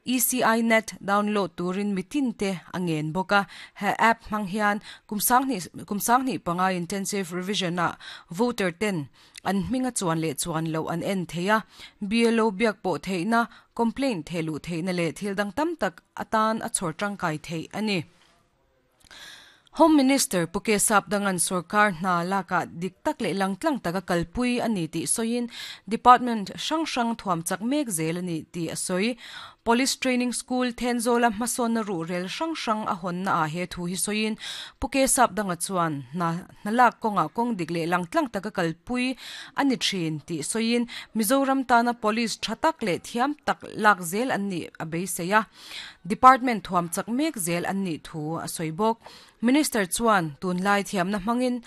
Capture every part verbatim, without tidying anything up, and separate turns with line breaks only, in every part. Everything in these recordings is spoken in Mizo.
E C I Net download turin mitin te angen boka. He app hmang hian kumsang ni kumsang ni panga intensive revision a voter ten an hminga chuan le chuan lo an en theia, B L O biak po theina, complaint thelu theina le thil dang tam tak atan a chhor tangkai thei ani. Home Minister Puke Sapdangan Sarkar hna laka dik tak le langtlang taka kalpui ani ti soin department hrang hrang thuam chak mek zel ani ti a soi. Police Training School Thenzola hmasawn na ru rel hrang hrang a hawn na a he thu hi soin Puke Sapdanga chuan na hnalak kawnga kawng dik le langtlang taka kalpui ani thin ti soin Mizoram tana police thatak le thiam tak lak zel an ni a beiseia, department thuam chak mek zel an ni thu a soi bawk. Minister chuan tunlai thiamna hmangin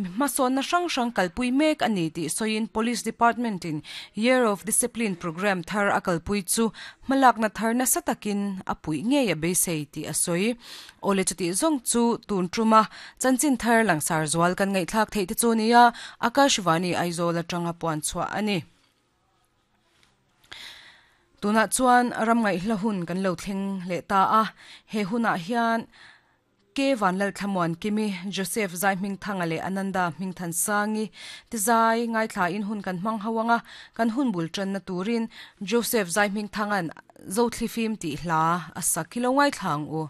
hmasawn na hrang hrang kalpui mek ani ti soin Police Department in Year of Discipline program thar a kalpui chu hmalak na thar na satakin a pui nge a beisei ti a soi. Ole, chuti zong chu tun truma chanchin thar langsar zual kan ngai thlak thei te chu nia. Akashvani Aizawl atanga puan chua ani. Tuna chuan ram ngai hla hun kan lo thleng le ta a. He huna hian ke Vanlal Thlamuan Kimi, Joseph Zai Hming Thanga le Ananda Hming Than Sangi ti zai ngai thla in hun kan hmang hawanga. Kan hun bul tran na turin Joseph Zai Hming Thangan Zo Thlifim ti hla a sakilo ngai thlang u.